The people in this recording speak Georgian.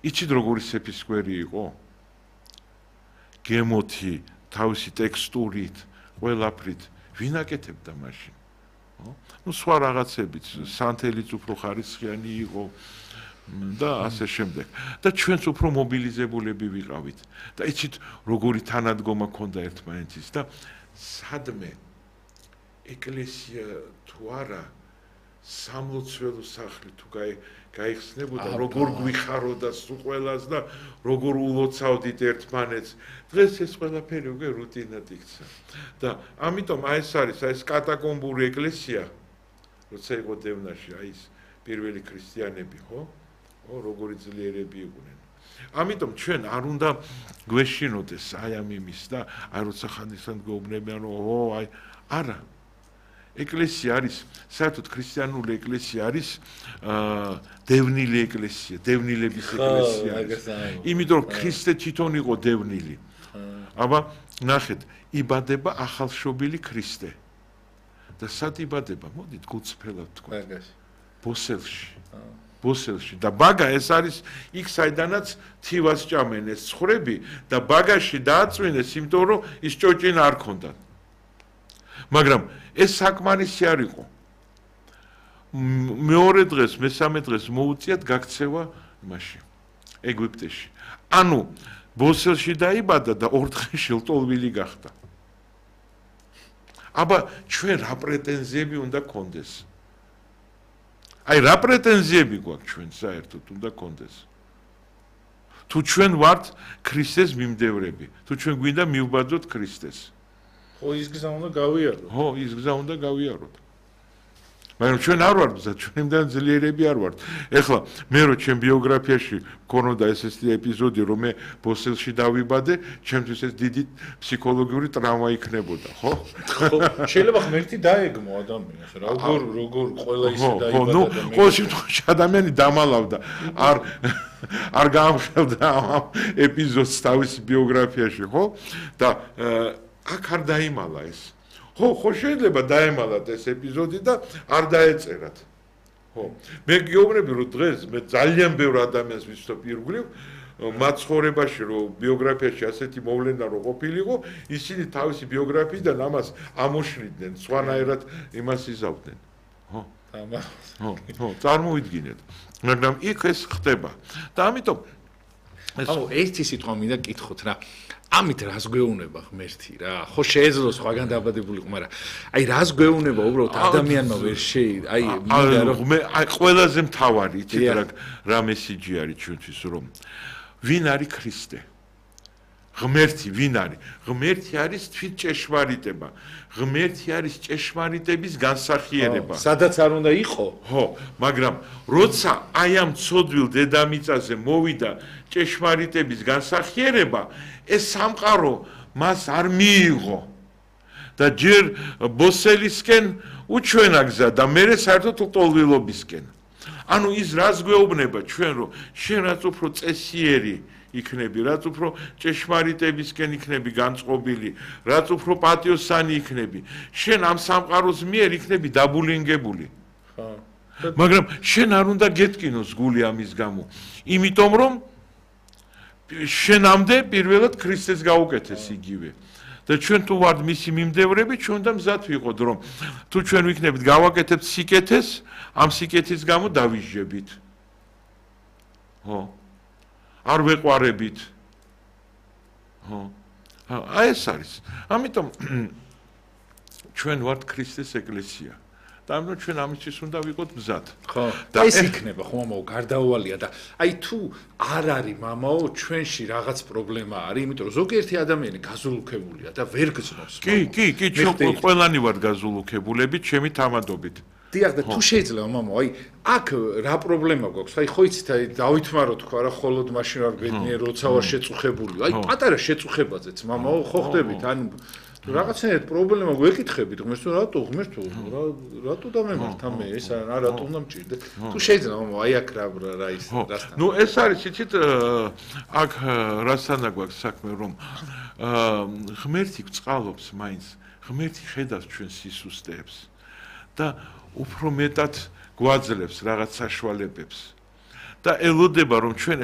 იცით როგორი სეფისკვერი იყო? გემოთი, თავისი ტექსტურით, ყველაფრით, ვინ აკეთებდა მაშინ? ნუ სხვა რაღაცებით, სანთელიც უფრო ხარისხიანი იყო და ასე შემდეგ. და ჩვენც უფრო მობილიზებულები ვიყავით. და იცით როგორი თანადგომა ქონდა ერთმანეთის და სადმე ეკლესია თუ არა სამლოცველო სახლი თუ გაიხსნებოდა, როგორ გვიხაროდა სულ ყველას და როგორ ულოცავდით ერთმანეთს. დღეს ეს ყველაფერი უკვე რუტინად იქცა. და ამიტომ ეს არის ეს კატაკომბური ეკლესია, როცა იყო დევნაში, ეს პირველი ქრისტიანები, ხო? როგორი ძლიერები იყვნენ. ამიტომ ჩვენ არ უნდა გვეშინოდეს ამ იმის და როცა ხანდახან გვეუბნებიან, არა. ეკლესია არის, საერთოდ ქრისტიანული ეკლესია არის დევნილი ეკლესია, დევნილების ეკლესია. იმიტომ რომ ქრისტე თვითონ იყო დევნილი. აბა ნახეთ, იბადება ახალშობილი ქრისტე. და სად იბადება? მოდით გულწრფელად თქვა. ბოსელში. ბოსელში და ბაგა ეს არის იქ საიდანაც თივას ჭამენ ეს ცხვრები და ბაგაში დააწვინეს, იმიტომ რომ ის ჭოჭინა არ ქონდა. მაგრამ ეს საკმარისი არ იყო. მეორე დღეს, მესამე დღეს მოუწიათ გაქცევა იმაში, ეგვიპტეში. ანუ ბოსელში დაიბადა და 2 დღეში ლტოლვილი გახდა. აბა ჩვენ რა პრეტენზიები უნდა გქონდეს? რა პრეტენზიები გვაქვს ჩვენ საერთოდ უნდა გქონდეს? თუ ჩვენ ვართ ქრისტეს მიმდევრები, თუ ჩვენ გვინდა მივბაძოთ ქრისტეს. ის გზა უნდა გავიაროთ. ის გზა უნდა გავიაროთ. მაგრამ ჩვენ არ ვართ გზა, ჩვენიდან ძლიერები არ ვართ. ეხლა მე რო ჩემ ბიოგრაფიაში მქონოდა ეს ეპიზოდი, რომ მე ბოსელში დავიბადე, ჩემთვის ეს დიდი ფსიქოლოგიური ტრავმა იქნებოდა, ხო? შეიძლება ღმერთი დაეგმო ადამიანს, როგორ ყველა ისე დაიბადა და მე ყოველ შემთხვევაში ადამიანი დამალავდა, არ გაამხელდა ამ ეპიზოდს თავისი ბიოგრაფიაში, ხო? და აქ არ დაიმალა ეს. ხო, შეიძლება დაემალათ ეს ეპიზოდი და არ დაეწერათ. ხო. მე გეუბნები, რომ დღეს მე ძალიან ბევრ ადამიანს ვიცნობ ირგვლივ, მათ ცხოვრებაში, რომ ბიოგრაფიაში ასეთი მოვლენა რო ყოფილიყო, ისინი თავისი ბიოგრაფიიდან ამას ამოშლიდნენ, სხვანაირად იმას იზავდნენ. ხო. ხო, წარმოვიდგინეთ. მაგრამ იქ ეს ხდება. და ამიტომ ერთი სიტყვა მინდა გკითხოთ რა. ამით რას გვეუბნება ღმერთი რა? ხო შეეძლო სხვაგან დაბადებულიყო, მაგრამ რას გვეუბნება უბრალოდ ადამიანმა ვერ მინდა რომ ყველაზე მთავარი იცით რა მესიჯი არის ჩვენთვის, რომ ვინ არის ქრისტე? ღმერთი ვინ არის? ღმერთი არის თვით ჭეშმარიტება. ღმერთი არის ჭეშმარიტების განსახიერება. სადაც არ უნდა იყო? ხო, მაგრამ როცა ამ ცოდვილ დედამიწაზე მოვიდა ჭეშმარიტების განსახიერება, ეს სამყარო მას არ მიიღო. და ჯერ ბოსელისკენ უჩვენა გზა და მერე საერთოდ ლტოლვილობისკენ. ანუ ის რას გვეუბნება ჩვენ, რომ შენ რაც უფრო წესიერი იქნები, რაც უფრო ჭეშმარიტებისკენ იქნები განწყობილი, რაც უფრო პატიოსანი იქნები, შენ ამ სამყაროს მიერ იქნები დაბულინგებული. მაგრამ შენ არ უნდა გეტკინოს გული ამის გამო, იმიტომ რომ შენამდე პირველად ქრისტეს გაუკეთეს იგივე. და ჩვენ თუ ვართ მისი მიმდევრები, ჩვენ უნდა მზად ვიყოთ, რომ თუ ჩვენ ვიქნებით გავაკეთებთ სიკეთეს, ამ სიკეთის გამო დავიჟებით. ხო. არ ვეყვარებით. ხო. ეს არის. ამიტომ ჩვენ ვართ ქრისტეს ეკლესია. და ამიტომ ჩვენ ამისთვის უნდა ვიყოთ მზად. ხო. და ეს იქნება ხო მამაო გარდაუვალია და თუ არ არის მამაო ჩვენში რაღაც პრობლემა არის, იმიტომ რომ ზოგიერთი ადამიანი გაზულუქებულია და ვერ გზნობს. კი, ჩვენ ყველანი ვართ გაზულუქებულები ჩემი თამადობით. დიახ და თუ შეიძლება მამაო, აქ რა პრობლემა გვაქვს? ხო იცით, დავითმარო თქვა რა, ხოლოდ მაშინ არ ბედნიერ როცა ვარ შეწუხებული. პატარა შეწუხებაზეც მამაო ხო ხდებით, ანუ რაღაცნაირად პრობლემა გვეკითხებით ღმერთს, რატო დამემართ ამე ეს რატო უნდა მჭირდე? თუ შეიძლება მამაო, აქ რა ის რასთან. ნუ ეს არის იცით, აქ რასთან გვაქვს საქმე, რომ ღმერთი გვწყალობს მაინც, ღმერთი ხედავს ჩვენ სისუსტეებს და უფრო მეტად გვაძლევს რაღაც საშუალებებს და ელოდება რომ ჩვენ ეს